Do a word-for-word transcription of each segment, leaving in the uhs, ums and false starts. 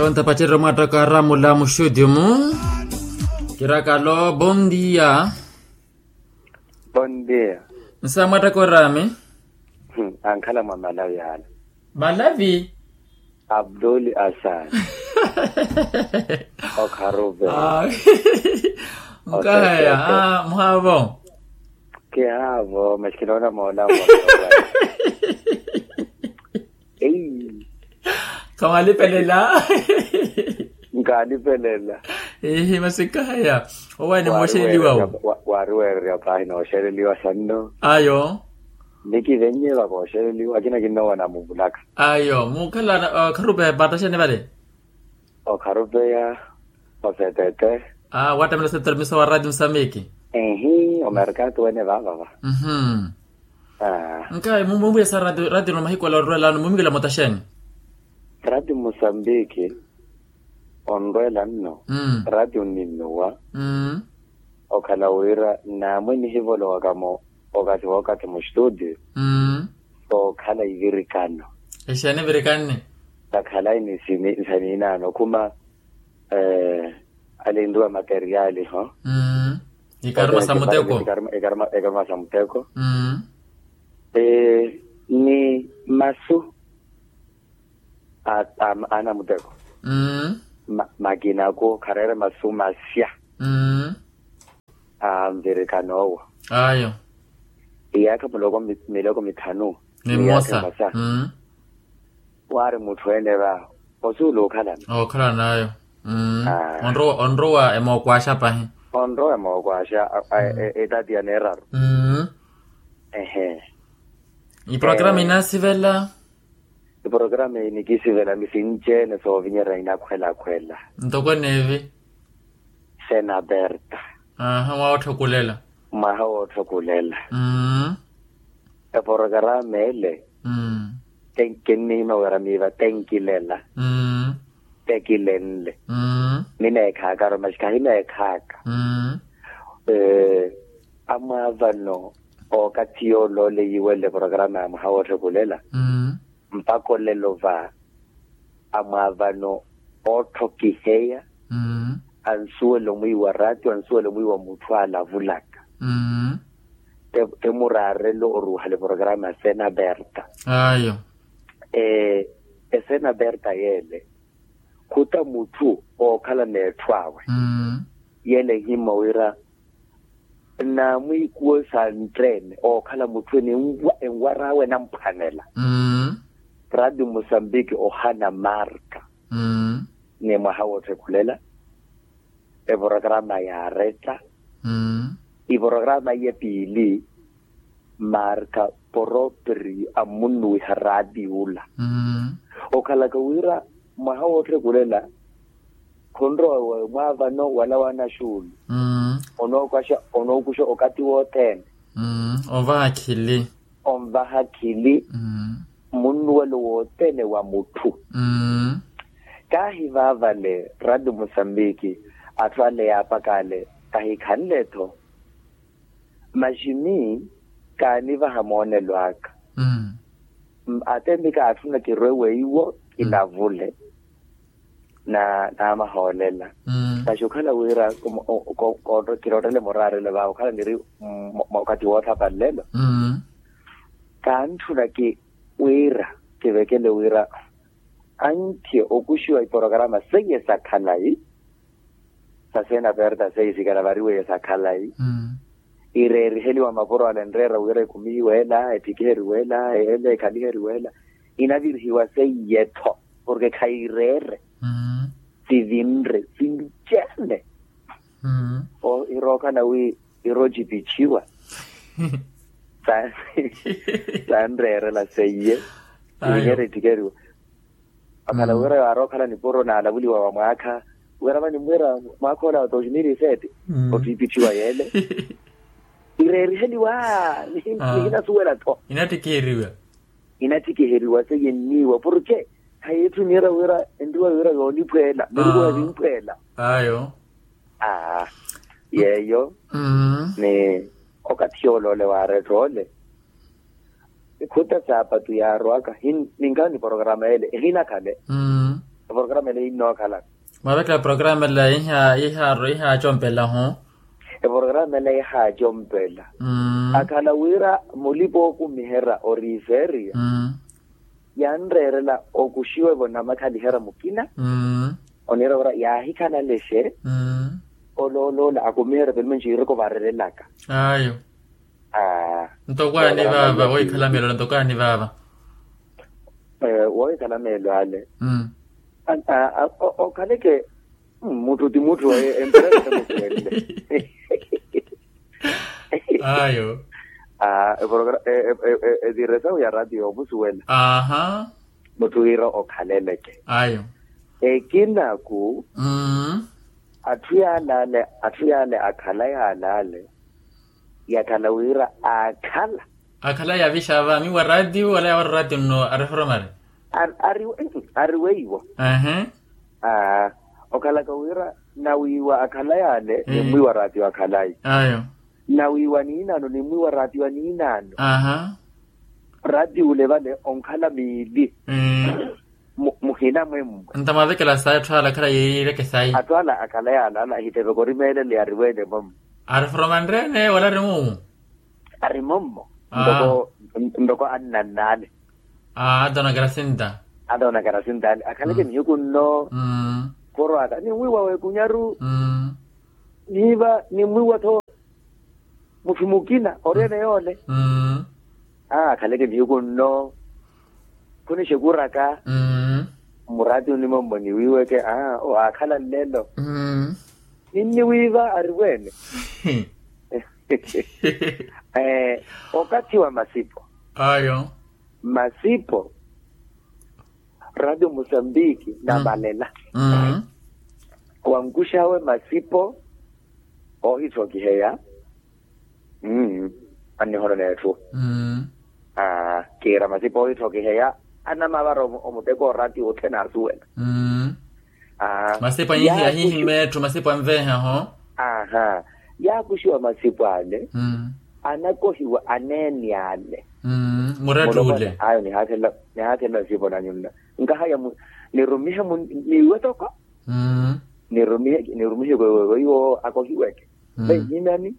Ontapacerya omwattaka aramula muxudiumu. Kirakalo bondia. Bondia. Nsa mwattaka orami. Ankhala mwa malavi ala. Malavi. Abdul asan. Okharuve. Nkahaya. Muhavo. Kihavo masi kinoona moona. Ei. Khamwalipelela. Nkalipelela. Ehe masi nkahaya. Owaani mooxeleliwa wo. Waari weererya paahi nooxeleliwa sanno. Ayo. Nikivennye vakooxeleliwa akina kinnowa namuvulaka. Ayo muukhala. Okharupeya paataxani vale. Okharupeya. Osetete. Wattamela osetete misa wa raati musambiki. Ehi omerkatu wene vaavava. Nkaayi mumwimwiyesa raati no mahiku ala orwelano mumwikela mutaxeni. Raati musambiki. Onrwela nno. Raati onninnuwa. Okhala wira namwe nihivolowaka-mo okathi wookathi mustudio. Sookhala ivirikano. Exeeni evirikanne. Sakhalayi ni sini nsaniinaano khuma. Alinriwa materiali ho. Ikaruma sa muteko. Ikaruma sa muteko. Ni masu a namuteko. Makina ko khareere masu masya. A nvirikano owo. Ayo. Iyaakha miloko mithanu. Ni mmosa. Waari mutthu ene va osuula okhalana. Okhalana ayo. Onrowa emookwaaxa pahi. Onrowa emookwaaxa etati ya neeraru. Ehe. Iporokaramu inaasivela. Iporokaramu eyi nikisivela misinci-ene soovinyerya inakhwelakhwela. Ntoko eneevi. Sena aperta. Mwaha wootthokulela. Mwaha wootthokulela. Eporokaramu ele. Kinnihimya wira miiva tenkilela. Tekilenle. Mineekhaaka aro masi khahineekhaaka. Amwaavano okathi yoole ole yiiwenle porokaramu ya mwaha wootthokulela. Mpaka olelo va amwaavano ootthokiheya. Ansuwela omwiiwa raati ansuwela omwiiwa mutthu alavulaka. Te muraarelo oruuhale porokaramu ya sena aperta. Ayo. Esena aperta yeele khuta mutthu ookhala n'etthu awe. Yeele ehimma wira naamwiikuwo sa ntteene ookhala mutthu ene enwar'awe enamphwanela. Raati musambiki ohana marka. Ni mwaha wootthokulela. Eporokarama yaaretta. Iporokarama iye piili marka poroperiyo ammunnuwiha raati ula. Okhalaka wira mwaha wootthokulela khunrowa mwaavano wala wanaxuulu. Onookuxa onookuxa okathi wothene. Ovaha khili. Onvaha khili. Munnuwelo wothene wa mutthu. Kaahi vaavale raati musambiki atthu ale yaapaka ale kahikhanle-tho. Masi mi kaanivaha moonelo aka. Atempi kaatthuna kirwe weiwo kilavule. Naamahoolela. Masi okhala wira kirottele muraarelo vaavo okhala niri mwa okathi wootthapa nlelo. Kaantthuna ki wira kivekele wira antthiye okuxiwa iporokarama seiye sa khalayi. Sa sena perta seiye sikana variweiye sa khalayi. Ireeriheliwa mapuro ale enreera wira ekumi iweela etthikiheriwe ela ele ekhaliheriwe ela. Inavirihiwa seiye-tho porke khayireere. Sivinre sinci-ene. Irookhala wi iroocipithiwa. Sanreerela seiye. Sivinyere etthikeriwa. Akhala wira yaari okhala nipuro naalavuliwa wa mwaakha wira vanimmwira mwaakha ola wa dois mil e sete. Ottipithiwa yeele ireeriheliwa. Nihinasuwela-tho. Inattikiheriwa. Inattikiheriwa seiye nniiwa porke khayeetthuniyerya wira enriwa wira yooniphweela nilikuwa vimphweela. Ayo. Aa yeeyo. Ni okathi yoole ole waareetta ole. Khuta saapatu yaarowaka. Ninkhala ni porokarama ele ehinakhale. Eporokaramu ela innookhala. Mwaavekela eporokaramu ela iha iha ihacompela ho. Eporokaramu ela ihacompela. Akhala wira mulipa okumiherya ori iseriya, yanreerela okuxiwa evo namakhaliherya mukina. Oniira wira yaahikhalalexe olooloola akumiherya pelo menci yiriko varerelaka. Ayo. Ntoko ani vaava wohikhala meelo ale ntoko ani vaava. Wohikhala meelo ale. Okhaleke mutthu ti mutthu. Emperesa musuwelle. Ayo. Etiresawu ya ratio omusuwela. Aha. Mutthu wira okhaleleke. Ayo. Ekinaku. Atthu yaale ale atthu yaale akhala yaale ale yakhala wira aakhala. Akhala yaavixava miwa ratio wala yaawara ratio nno ariforomari. Ariweiwo. Ehe. Okhalaka wira nawiiwa akhala yaale nimmwiiwa ratio akhalayi. Ayo. Nawiiwa niinaano nimmwiiwa ratio aniinaano. Aha. Ratio ole vale onkhala miili. Muhina mwemmwe. Ntamwavekela sayi atthu ala akhala yiireke sayi atthu ala akhala yaale ala ahitteveka orimeelele yariweene mwemmwe. Ariforomanreene wala ari mumu. Ari mummo. Ntoko ntoko annannaale. Aa ata onakera sinta. Ata onakera sintaale akhaleke nihiku nno. Khurwaaka nimwiiwa weekunyaru. Niiva nimwiiwa-tho mutthu mukina ori ene yoole. Akhaleke nihiku nno khunixekuraka. Muraati onimommo niwiiweke aa owaakhala nlelo. Ninniwiiva ariweene. Okathi wa masipo. Ayo. Masipo. Ratio musambiki namalela. Wankuxawe masipo. Oohithokiheya. Annihono neetthu. Kiira masipo oohithokiheya anamavara omuteko oraati othene asuwela. Masipo ahihimeetthu masipo anveehaho. Aha. Yaakuxiwa masipo ale anakohiwa aneeni ale. Murattule ayo nihaakhelela nsipo nanyu nna nkahaya nirumihe niiwe toko. Nirumihe nirumihe weiwo akohiweke. Venhimyani.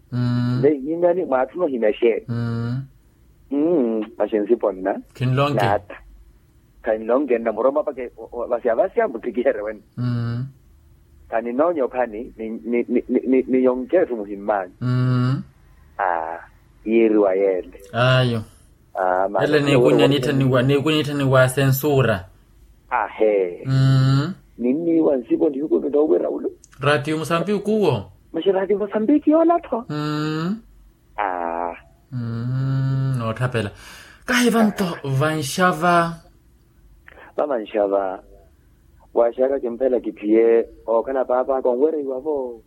Venhimyani mwaatthuna ohimya xeeni? Masi nsipo nna khinlonke. Naata khanlonke nna muroma paka vasya vasya muttikiherye wene. Khaninoonya okhani niyonke etthu muhimmaanyu. Aa yiiriwa yeele. Ayo. Ele niikunye niitthaniwa niikunye niitthaniwa sensuura. Ahe. Ninniiwa nsipo nihiku ninoowira ulu. Ratio musambiki uwo. Masi ratio musambiki yoola-tho. Aa. Nootthapela. Kahi vanto vanxava. Vamanxava. Waaxaka kimphela kiphiye ookhala paap'aka onwereiwa-vo.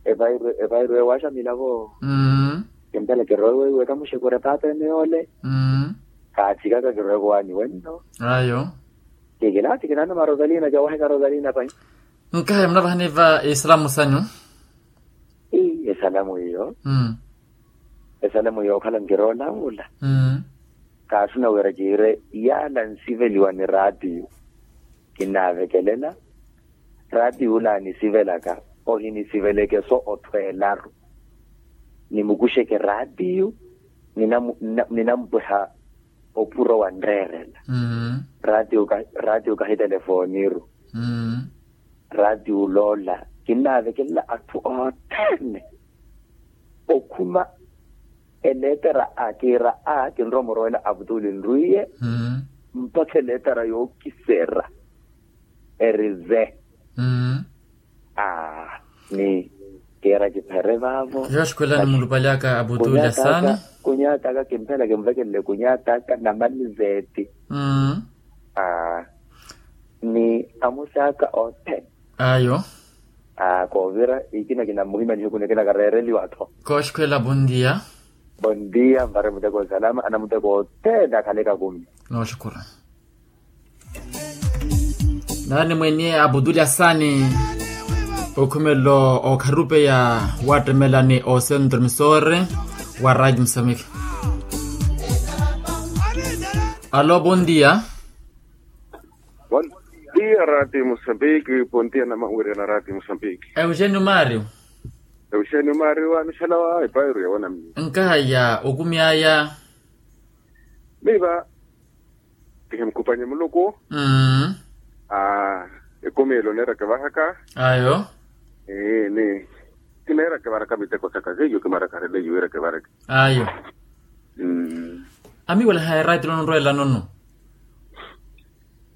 Epairwe epairwe waaxamila-vo. Kimphela kirowe weiwe kamuxekure paapa ene yoole. Kaathikaka kirowe kowaani wenno. Ayo. Kikilaathikinana marosalina cawaaheka rosalina pai. Nkahi munavahani va esalamu sanyu. Esalamu iyo. Esalamu yookhala nkiroola wula. Kaattuna wira kiire yaala nsiveliwa ni raatiyo. Kinaavekelela raatiyo ula anisivelaka ohinisiveleke so othweelaru. Nimukuxeke raatiyo. Ninampweha opuro wanreerela. Raatiyo kahi telefooniru. Raatiyo oloola kinnaavekelela atthu othene. Okhuma eleetera a kiira a kinrowa murowela avutuuli nrwiiye mpakha eleetera yookisera. Erize. Aa ni kiira kiphere vaavo. Yooxukhwela nimulupali aka abutuuli asaani. Kunyaat'aka kimphela kimvekelele kunyaat'aka namalizeeti. Aa ni amusi aka othene. Ayo. Aa koovira ikina kinamuhimya nihiku nikina kareereliwa-tho. Kooxukhwela bondia. Bondia nvare muteko nsalama anamuteko othene akhaleke akumi. Nooxukhura. Naani mweeniye aputuli asaani okhumelo okharupeya waattemela ni osentro misore wa raji musamiki. Alo bondia. Iya rati musambiki pontiya namawirya na rati musambiki. Euxenio mario. Euxenio mario anixalawa epairu yawona miyo. Nkahaya okumyaya. Miva kihimukupanye muluku. Mmm. Ekumiyelo neereke vahaka. Ayo. Ni kineereke varaka miteko saka seiyo kimaraka releyo ireke vareke. Ayo. Amiwela haya ratio lonrwela nono.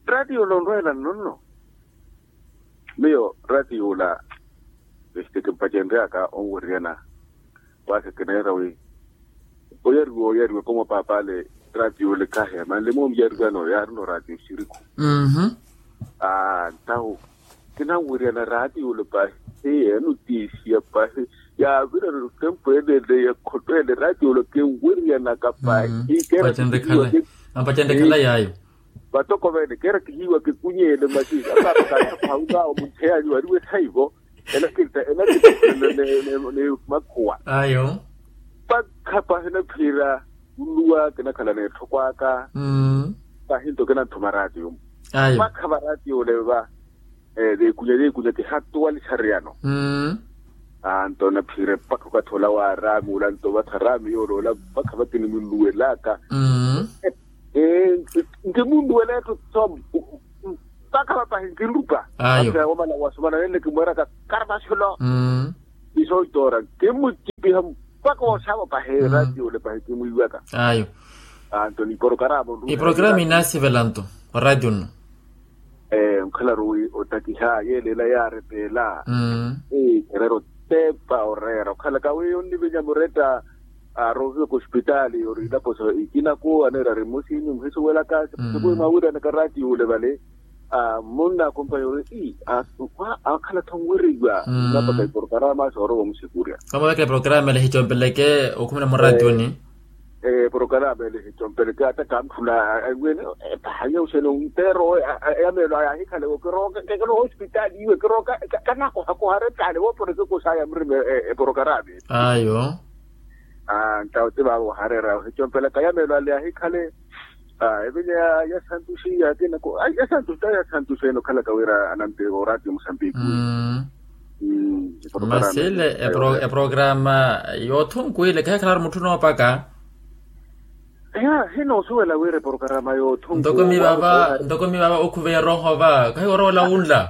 Ratio lonrwela nono. Miyo ratio ola este kimpacenryaka onweryana. Wasi kineera wi oyariwa oyariwa komo paapale. Ratio ola kahe manle moomuyariwano yaarino ratio siriku. Ntawo kinanweryana ratio ola pahi. Enutiisiya pahi yaavirana otempo enene yakhotwene ratio ola kinweryanaka pahi. Keera kihiiwa ki- Ampacenrekhala yaayo. Vatoko vene keera kihiiwa kikunyeene masi apapakatha phaunga omuntheyanyu ariwe thaivo. Elakinta elakinta ni makhuwa. Ayo. Mpakha pahi naphiira nluwa kinakhala neetthoko aka. Pahi nto kinanthuma ratio. Ayo. Mpakha va ratio oleva. Veekunya veekunya kihattuwalixariyano. Nto naphiire mpakha okathi ola wa araami ola nto vatha araami yooloola mpakha vakinimuluwelaka. Nkimunduwela etthu tho mpakha vapahi nkilupa. Ayo. Omala wasumana nene kimweraka karvaxulo. Iso itoora kimucipiha mpakha oxavo pahi ratio ole pahi kimwiwaka. Ayo. Anto ni porokarama iprokarama inasivela nto ratio nno. Onkhalaru wi otakiha yeela ela yaarepeela. Ereera otepa oreera okhalaka wi onnivinya muretta. Arohiwa kosipitaali ori ilapo sa ikinaku aneera ari mmusinyu muhisuwelaka. Siku imwawiryanaka ratio ole vale. Munna akompayi ori ii akhala tho onweriwa. Nnapaka iporokarama soorowa omusikurya. Kamavekela iporokarama ele hicompeleke okhumela murationi. Eporokarama ele hicompeleke ata kantthula. Epaha nyauxene onteera owe. Yameelo aya ahikhale wo kirooka kekelo hospitaali iwe kirooka kanakohakoha rettaale wooporeke kosaya murime. Eporokarama ele ayo. Ntawo ti vaavo ohareera ohicompelaka yameelo ale ahikhale. Evinya ya santuxi yakinako ya santuxi ta ya santuxi ene okhalaka wira anampiwa oratiyo musambiki. Masile eprograma yoothunku ile khekhalaru mutthu noopaka. Eya hinoosuwela wira eprograma yoothunku ntoko mivava ntoko mivava okhuveya erooho va khahiwa oroola wunla.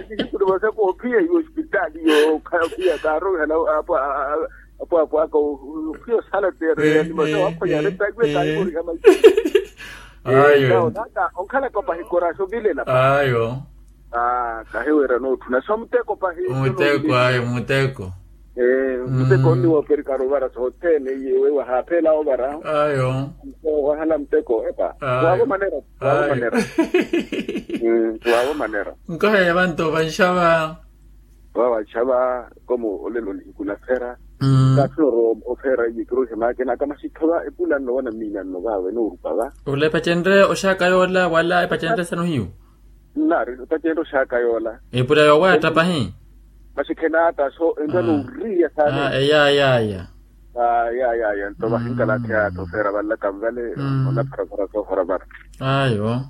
Nihikuluva sa koophiya hiyo osipitaali yo khayaophiya kaarowihala. Apwaapwaaka ophiya osala teereyani masa wakhonyana etakiwe kaahimoriha mayi. Ayo. Onkhalaka opahi koraxo ovilela ayo. Kahiwira nootthuna so muteko pahi muteko ayo muteko. Muteko onniwooperikara ovara sothene iye wewa haaphela ovara. Ayo. Wahala muteko epa waavo manera. Waavo manera. Waavo manera. Nkoheya vanto vanxava. Vawa nxava komo olelo nihiku nafera. Kathuna oro ofera iye kiroihe maakena akamaxitho va epula nno wana miina nno vawe noorupa va. Olepacenre oxaaka yoola wala epacenre sano hiyu. Nnaari epacenre oxaaka yoola. Epula yoowatta pahi. Masi khenaata so enrwa nooriya saani. Eya eya eya. Aya aya aya nto vahinkalathi aya tho feera vanlaka nvale. Onapharafara soohora vara. Ayo.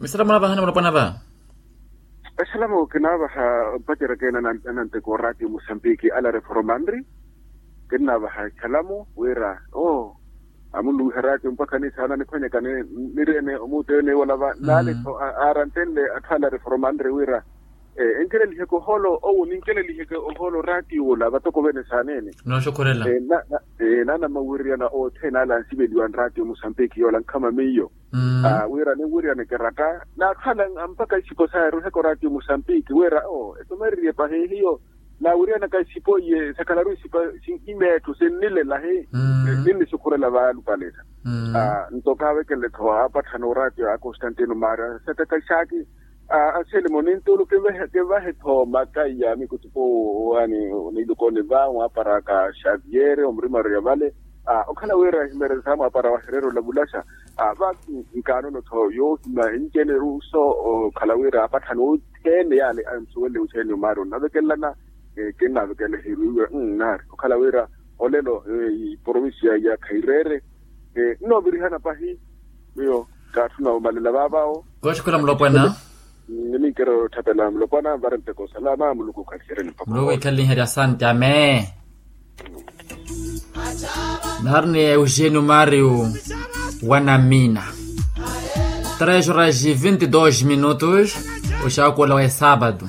Misala munavahana mulopwana va. Esalamu kinaavaha mpacerya keene ananteka oratiyo musambiki ala reformanri. Kinnaavaha esalamu wira oo amunluwiha ratio mpakha nisaana niphwanyaka nirene omuuteyo niiwolava naale-tho aarantenle atthu ala reformanre wira enkeleliheke ohoolo owo ninkeleliheke ohoolo ratio ola vatoko vene saaneene. Nooxukhurela. Naana mawiririyana othene ala ansiveliwa nratio musambiki yoola nkhama miyo. Wira ninwiriyaneke ratta n'atthu ala mpakha isipo saya erwiheke oratiyo musambiki wira oo etumereriye pahi hiyo. Naawiriyanaka isipo iye sakhalaru isipo sinhimya etthu sinnilela hi ninnisukhurela vaalupaletta. Nto kaavekenle-tho aapatthana oratiyo a constantino mario aseteka xaaki. Anselmo nintulu kinvahe-tho makaiya mikutipo. Ani niilukoni va mwaaparaka xaviere omurimaru ya vale. Okhala wira ehimereri saamwaapara wahererya olavulaxa va nkaanono-tho yoohima enceneru so okhala wira aapatthana othene yaale ansuwele othene omaari onnavekelelana. Kinnaavekelela ehiru iwe nnaari okhala wira olelo iporovincia ya khaireere nnoovirihana pahi. Miyo kaatthuna omalela vaavawo. Kooxikula mulopwana. Niminkererya otthapela mulopwana vari mpekha osalama muluku okhaliherye nimpakha. Muluku okhaliherye asante ame. Nari ni eugênio mario, wa namina. Três horas e vinte e dois minutos. Oxaakuwela wa esaabatu.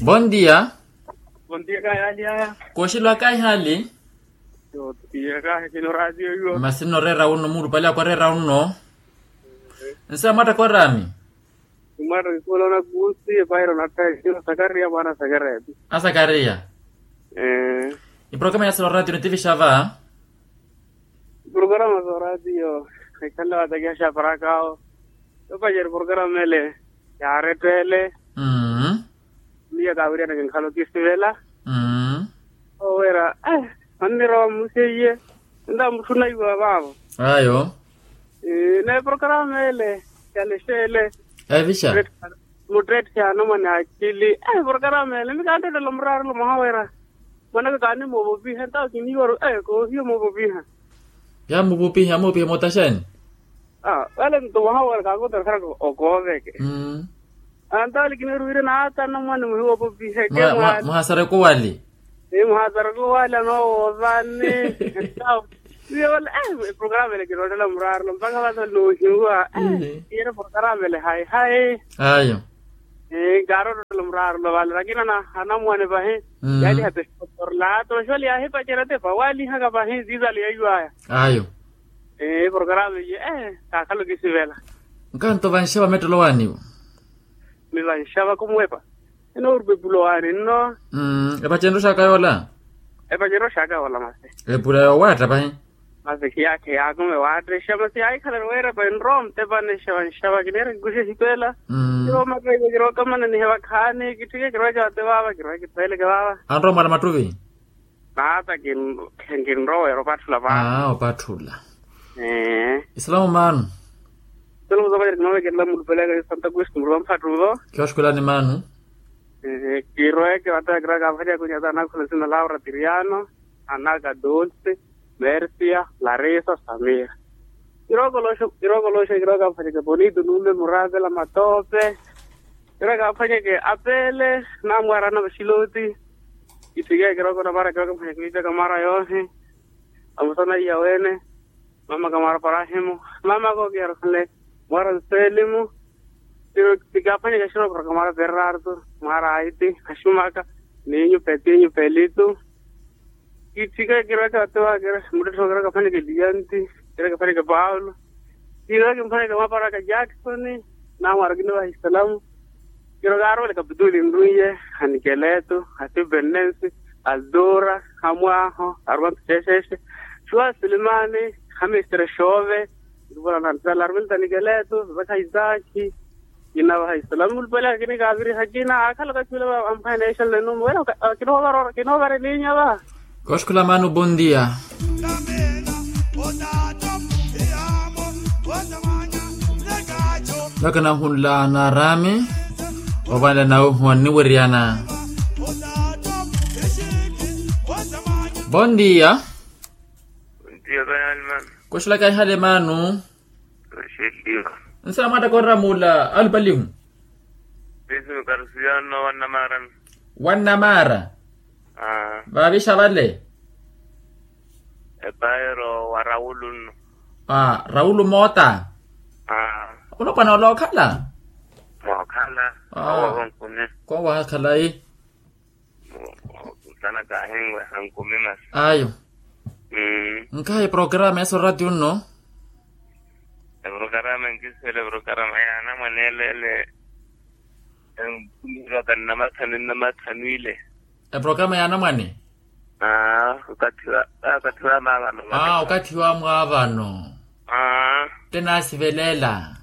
Bom dia. Bom dia kayalia. Kooxilwa kaihali. Yo tiya kahi kino radio yo. Masi nnoreera unno muulupale akwareera unno. Nse amwatta koorami. Imwatta kikhulola kusi epairo nattha ekino sakaria mwaana sakaria. Asakaria. Iprokarama ya solo radio nitivisha va. Iprokarama solo radio. Ekhalle watakiha xaparakawo. Yopacerya iprokarama ele yaarettele. Miyo kaawiriyana kinkhala okisivela. Oweera, manniroowa mmuseiye. Ninta mutthuna iwa vaavo. Ayo. N'eprokarama ele yalexele. Evixa. Muttetthe anamwane akili. Eprokarama ele mikanttela muraarelo mwaha weera. Mwanaka kaani moovopiha ntawo kiniiwaru. Koohiya moovopiha. Yaamuvopiha yaamuvopiha mootaxani. Vale nto mwaha weera kaakoterya okhooraka okooveke. Antaali kiniiru wira naata anamwane muhiwoopopiheke. Muhasareke owali. Muhasareke owali anoowoovani. Etawo. Iwe vale eprokarama ele kinoottela muraarelo mpakha vale noohiwa. Iyere prokarama ele hayi hayi. Ayo. Nkaaroottela muraarelo vale lakini anamwane vahi. Yaaliha pesoporlato xivale yaahipacerya tepa waalihaka vahi ziizale yaiwaya. Ayo. Eprokarama iye kaakhala okisivela. Nkanto vanxava mettelo waaniwo. Mivanxava kumuwepa. Enoorupepula owaani nno. Epacerya oxaaka yoola. Epacerya oxaaka yoola masi. Epula yoowaatta pahi. Masi khiyaakhe yaakumi waatta exa masi yaahikhalari weerapa enrowa mutepani exa vanxava kiniira kikuxa exipela. Kiroomatta ivo kirookamana nihe vakhaani kitthike kirooca vate vaava kirooca kitthweleke vaava. Anrowa mwaala mattuvi. Naata kinrowa weera opatthula paana. Opatthula. Isalamu maanu. Isalamu soopacerya kinoovekelela mulupale aka santa kristu mulupa mphattuvo. Kioxukulani maanu. Kiroweke vate kirowa kaavaliya kunyata anakhula nsina laura tiriano, anaka dulce, mercia, larisa, samira. Kirowa kolooxa kirowa kaavaliya bonito nuume muraavela matoope. Kirowa kaaphwanyeke apele namwaarana vaxiloti. Kitthike kirowa konamara kirowa kaaphwanyeke wiipyaka mara yoohi. Amusana iya wene. Mama kamara parahimu. Mama kokiyarukhale. Mwara nselimu. Kikaaphwanyeke xirokoro kamara perrarto. Mwara aiti axumaka. Ninyu petinyu pelitu. Kitthike kirowa kaatewa muttettho kirowa kaaphwanyeke liyanti. Kirowa kaaphwanyeke paulo. Kirowa kimphwanyeke mwaparaka jacksoni. Namwara kinovaha isalamu. Kirowa kaaroole kapituli nrwiye. Anikeleto, asipennensi, aldura, amwaho, arumantu xeexeexe, xuwa silimani, amistere xoove. Ntuvola na ntala arumantu anikeleto, vaka isaki. Kinavaha isalamu mulupale akini kaaviriha kina akhala okathi ula amphaneexela enumu wela. Kinoovarelinya va. Kooxukhula maanu bondia. Vakana hunla naarami. Ovalela nawe huwa nniweriyana. Bondia. Kooxulaka ihale maanu. Nsa mwatta koorama ula alupalihu. Wannamara. Vaavixa vale. Epaero wa raulu nno. Raulu moota. Olopwana olookhala. Mookhala. Kowaha khalayi. Sana kaahinweha nkumi masi. Ayo. Nkhahi eprokarama eso ratio nno. Eprokarama nkisivela eprokarama ya anamwane ele ele. Enkumiroka nnamathanu nnamathanu ile. Eprokarama ya anamwane. Aa okathi wa maavano. Aa okathi wa mwaavano. Aa. Te naasivelela.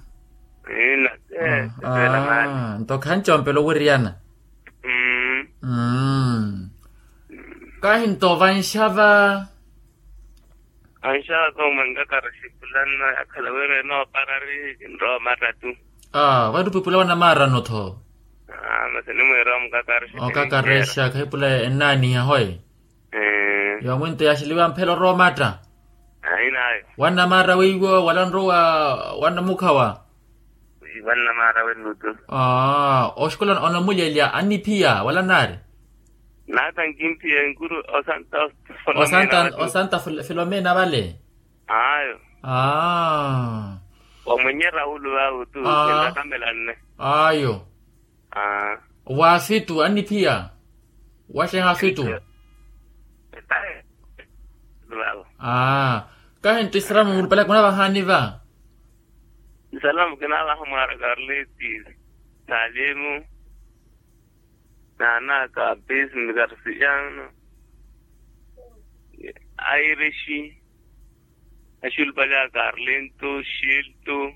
Nto khancompela owiriyana. Kahi nto vanxava. Vanxava koomwe nkakari xipulanna yakhala wira enooparari kinrowa mattatu. Aa vanttupipula wanamaarano tho. Masi nimwiira omukakarexa okakarexaka ipula ennaaniha hoye. Yomwinto yaxeliwa mphela orowa matta. Ainayo. Wannamaara weiwo wala nrowa? Wannamukhawa. Wannamaara wennutu. Oxikola onamulelya anniphiya wala naari? Naata nkimphiya enkuru osanta osanta filomena vale. Ayo. Wa mwenye raulu vawe tu kintakamela nne. Ayo. Wa fitu anniphiya? Waxeha fitu. Kahi nti salamu mulupalaka munavahaani va? Salamu kinavaha mwaara karleti, salimu, nanaka pismi karsiano, airixi, axulupale a karlintu, xiltu,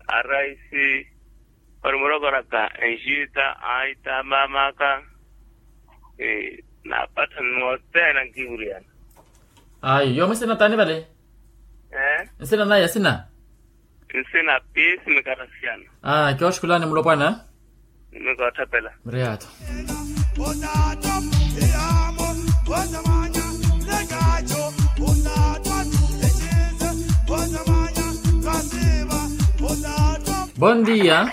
araisi, ori murokoraka enxita, aita mamaka. Naapatha nnothene ankivuriyana. Ayo yoomo nsina taani vale? Nsina naye asina? Nsina pismi karsiano. Kioxukulani mulopwana. Mikootthapela muriyatho. Bondia.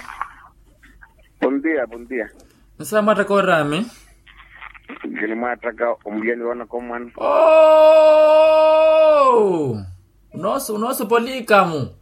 Bondia bondia. Nsa mwattaka orami? Kinimwattaka omuliyani woonaka omwana. Onoosi onoosi opolikamu.